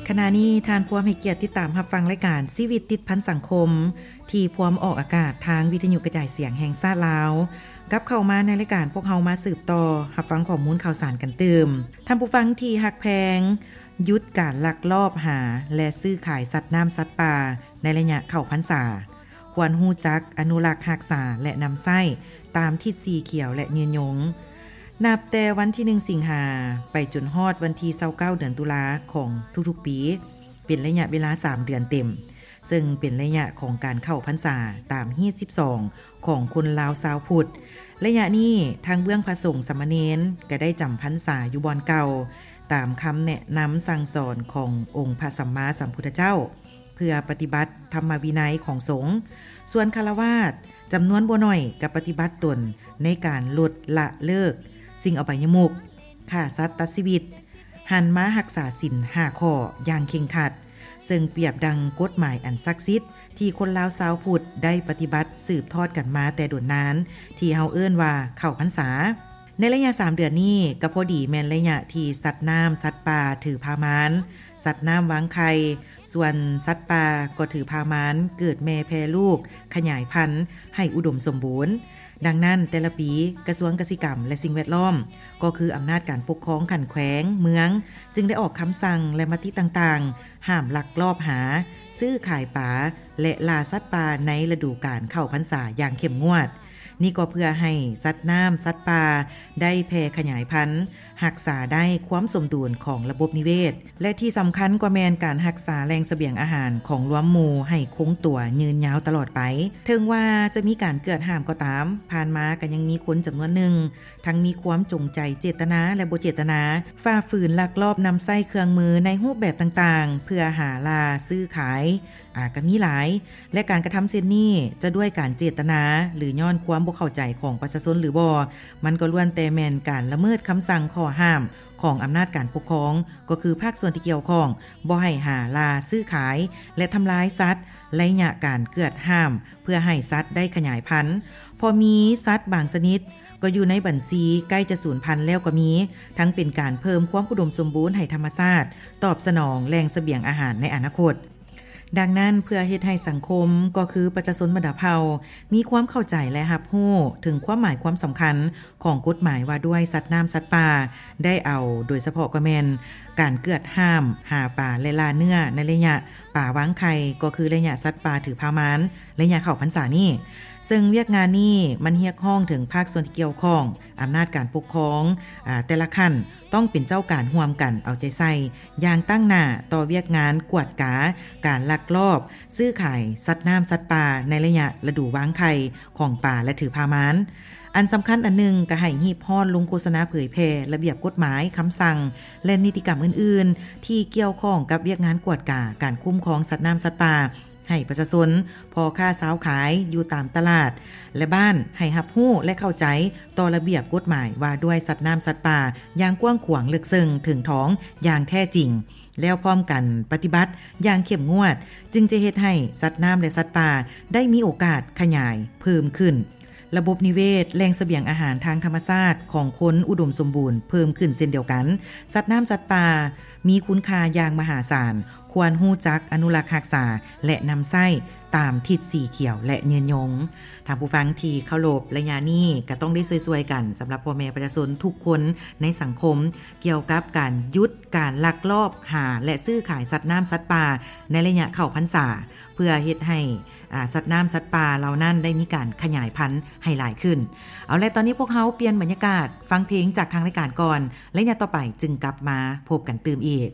ຂະນະນີ້ທ່ານພວມໃຫ້ກຽດຕິດຕາມຮັບຟັງລາຍການຊີວິດຕິດພັນສັງຄົມ ທີ່ພວມອອກອາກາດທາງວິທະຍຸກະຈາຍສຽງແຫ່ງຊາດລາວ. ກັບເຂົ້າມາໃນລາຍການ, ພວກເຮົາມາສືບຕໍ່ຮັບຟັງຂໍ້ມູນຂ່າວສານກັນຕື່ມ. ທ່ານຜູ້ຟັງທີ່ຮັກແພງ, ຢຸດການລັກລອບຫາ ແລະ ຊື້ຂາຍສັດນ້ຳສັດປ່າໃນໄລຍະເຂົ້າພັນສາ. ຄວນຮູ້ຈັກອະນຸລັກຮັກສາ ແລະ ນຳໃຊ້ຕາມທິດສີຂຽວ ແລະ ຍືນຍົງ. ນັບແຕ່ວັນທີໜຶ່ງ ສິງຫາ ໄປຈົນຮອດວັນທີຊາວເກົ້າ ເດືອນຕຸລາຂອງທຸກໆປີ ເປັນໄລຍະເວລາສາມເດືອນເຕັມ, ເຊິ່ງເປັນໄລຍະຂອງການເຂົ້າພັນສາຕາມຮີດສິບສອງຂອງຄົນລາວຊາວພຸດ. ໄລຍະນີ້ ທັງເບື້ອງພະສົງສາມະເນນກໍໄດ້ຈຳພັນສາຢູ່ບ່ອນເກົ່າ, ຕາມຄຳແນະນຳສັ່ງສອນຂອງອົງພະສຳມາສຳພຸດທະເຈົ້າ ເພື່ອປະຕິບັດທຳມະວິໄນຂອງສົງ. ສ່ວນຄາລະວາດຈຳນວນບໍ່ໜ້ອຍກໍປະຕິບັດຕົນໃນການລົດລະເລີກສິ່ງອະບາຍຍະມຸກ, ຂ້າສັດຕັດຊີວິດ, ຫັນມາຮັກສາສິນຫ້າຂໍ້ຢ່າງເຄັ່ງຄັດ, ເຊິ່ງປຽບດັ່ງກົດໝາຍອັນສັກສິດທີ່ຄົນລາວຊາວພຸດໄດ້ປະຕິບັດສືບທອດກັນມາແຕ່ດົນນານ, ທີ່ເຮົາເອີ້ນວ່າເຂົ້າພັນສາ. ໃນໄລຍະສາມເດືອນນີ້ ກໍພໍດີແມ່ນໄລຍະທີ່ສັດນ້ຳສັດປ່າຖືພາມານ, ສັດນ້ຳວາງໄຂ່, ສ່ວນສັດປ່າກໍຖືພາມານເກີດແມ່ແຜ່ລູກ, ຂະຫຍາຍພັນໃຫ້ອຸດົມສົມບູນ. ດັ່ງນັ້ນ, ແຕ່ລະປີ ກະຊວງກະສິກຳ ແລະ ສິ່ງແວດລ້ອມ ກໍຄືອຳນາດການປົກຄອງຂັ້ນແຂວງ, ເມືອງ ຈຶ່ງໄດ້ອອກຄຳສັ່ງ ແລະ ມະຕິຕ່າງໆ ຫ້າມລັກລອບຫາ, ຊື້ຂາຍປາ ແລະ ລ່າສັດປ່າໃນລະດູການເຂົ້າພັນສາຢ່າງເຂັ້ມງວດ. ນີ້ກໍເພື່ອໃຫ້ສັດນ້ຳສັດປ່າໄດ້ແຜ່ຂະຫຍາຍພັນ, ຮັກສາໄດ້ຄວາມສົມດຸນຂອງລະບົບນິເວດ ແລະ ທີ່ສຳຄັນກໍແມ່ນການຮັກສາແຫຼ່ງສະບຽງອາຫານຂອງລວມໝູ່ໃຫ້ຄົງຕົວຍືນຍາວຕະຫຼອດໄປ. ເຖິງວ່າຈະມີການເກືອດຫ້າມກໍຕາມ, ຜ່ານມາກໍຍັງມີຄົນຈຳນວນໜຶ່ງ ທັງມີຄວາມຈົງໃຈເຈດຕະນາ ແລະ ບໍ່ເຈດຕະນາ ຝ່າຝືນລັກລອບນຳໃຊ້ເຄື່ອງມືໃນຮູບແບບຕ່າງໆ ເພື່ອຫາລ່າຊື້ຂາຍ ອາ ກໍມີຫຼາຍ ແລະ ການກະທຳເຊັ່ນນີ້ ຈະດ້ວຍການເຈດຕະນາ ຫຼື ຍ້ອນຄວາມບໍ່ເຂົ້າໃຈຂອງປະຊາຊົນຫຼືບໍ່, ມັນກໍລ້ວນແຕ່ແມ່ນການລະເມີດຄຳສັ່ງຂໍ້ຫ້າມຂອງອຳນາດການປົກຄອງ, ກໍຄືພາກສ່ວນທີ່ກ່ຽວຂ້ອງ ບໍ່ໃຫ້ຫາລ່າຊື້ຂາຍ ແລະ ທຳລາຍສັດ, ໄລຍະການເກືອດຫ້າມ ເພື່ອໃຫ້ສັດໄດ້ຂະຫຍາຍພັນ. ເພາະມີສັດບາງຊະນິດກໍຢູ່ໃນບັນຊີໃກ້ຈະສູນພັນແລ້ວກໍມີ, ທັງເປັນການເພີ່ມຄວາມອຸດົມສົມບູນໃຫ້ທຳມະຊາດ, ຕອບສະໜອງແຫຼ່ງສະບຽງອາຫານໃນອະນາຄົດ. ດັ່ງນັ້ນ, ເພື່ອເຮັດໃຫ້ສັງຄົມ ກໍຄືປະຊາຊົນບັນດາເຜົ່າ ມີຄວາມເຂົ້າໃຈ ແລະ ຮັບຮູ້ເຖິງຄວາມໝາຍຄວາມສຳຄັນຂອງກົດໝາຍວ່າດ້ວຍສັດນ້ຳສັດປ່າ, ໄດ້ເອົາໂດຍສະເພາະກໍແມ່ນການເກືອດຫ້າມຫາປາ ແລະ ລ່າເນື້ອໃນໄລຍະປາວາງໄຂ່, ກໍຄືໄລຍະສັດປ່າຖືພາມານ, ໄລຍະເຂົ້າພັນສານີ້. ເຊິ່ງວຽກງານນີ້ມັນຮຽກຮ້ອງເຖິງພາກສ່ວນທີ່ກ່ຽວຂ້ອງ, ອຳນາດການປົກຄອງ, ອາ, ແຕ່ລະຂັ້ນ ຕ້ອງເປັນເຈົ້າການຮ່ວມກັນເອົາໃຈໃສ່ຢ່າງຕັ້ງໜ້າຕໍ່ວຽກງານກວດກາການລັກລອບຊື້ຂາຍສັດນ້ຳສັດປ່າໃນໄລຍະລະດູວາງໄຂ່ຂອງປາ ແລະ ຖືພາມານ. ອັນສຳຄັນອັນໜຶ່ງກໍໃຫ້ຮີບຮ້ອນລົງໂຄສະນາເຜີຍແຜ່ລະບຽບກົດໝາຍ, ຄຳສັ່ງ ແລະ ນິຕິກຳອື່ນໆ ທີ່ກ່ຽວຂ້ອງກັບວຽກງານກວດກາການຄຸ້ມຄອງສັດນ້ຳສັດປ່າ ໃຫ້ປະຊາຊົນ, ພໍ່ຄ້າຊາວຂາຍຢູ່ຕາມຕະຫຼາດ ແລະ ບ້ານ ໃຫ້ຮັບຮູ້ ແລະ ເຂົ້າໃຈຕໍ່ລະບຽບກົດໝາຍວ່າດ້ວຍສັດນ້ຳສັດປ່າຢ່າງກວ້າງຂວາງເລິກເຊິ່ງເຖິງຖອງຢ່າງແທ້ຈິງ, ແລ້ວພ້ອມກັນປະຕິບັດຢ່າງເຂັ້ມງວດ, ຈຶ່ງຈະເຮັດໃຫ້ສັດນ້ຳ ແລະ ສັດປ່າໄດ້ມີໂອກາດຂະຫຍາຍເພີ່ມຂຶ້ນ. ລະບົບນິເວດ, ແຫຼ່ງສະບຽງອາຫານທາງທຳມະຊາດຂອງຄົນອຸດົມສົມບູນເພີ່ມຂຶ້ນເຊັ່ນດຽວກັນ. ສັດນ້ຳສັດປ່າມີຄຸນຄ່າຢ່າງມະຫາສານ, ຄວນຮູ້ຈັກອະນຸລັກຮັກສາ ແລະ ນຳໃຊ້ຕາມທິດສີຂຽວ ແລະ ຍືນຍົງ. ທ່ານຜູ້ຟັງທີ່ເຄົາລົບ, ໄລຍະນີ້ກໍຕ້ອງໄດ້ຊ່ວຍໆກັນ ສຳລັບພໍ່ແມ່ປະຊາຊົນທຸກຄົນໃນສັງຄົມ ກ່ຽວກັບການຢຸດການລັກລອບຫາ ແລະ ຊື້ຂາຍສັດນ້ຳສັດປ່າໃນໄລຍະເຂົ້າພັນສາ ເພື່ອເຮັດໃຫ້ ອາ ສັດນ້ຳສັດປ່າເຫຼົ່ານັ້ນໄດ້ມີການຂະຫຍາຍພັນໃຫ້ຫຼາຍຂຶ້ນ. ເອົາແລະ ຕອນນີ້ພວກເຮົາປ່ຽນບັນຍາກາດຟັງເພງຈາກທາງລາຍການກ່ອນ, ໄລຍະຕໍ່ໄປຈຶ່ງກັບມາພົບກັນຕື່ມອີກ.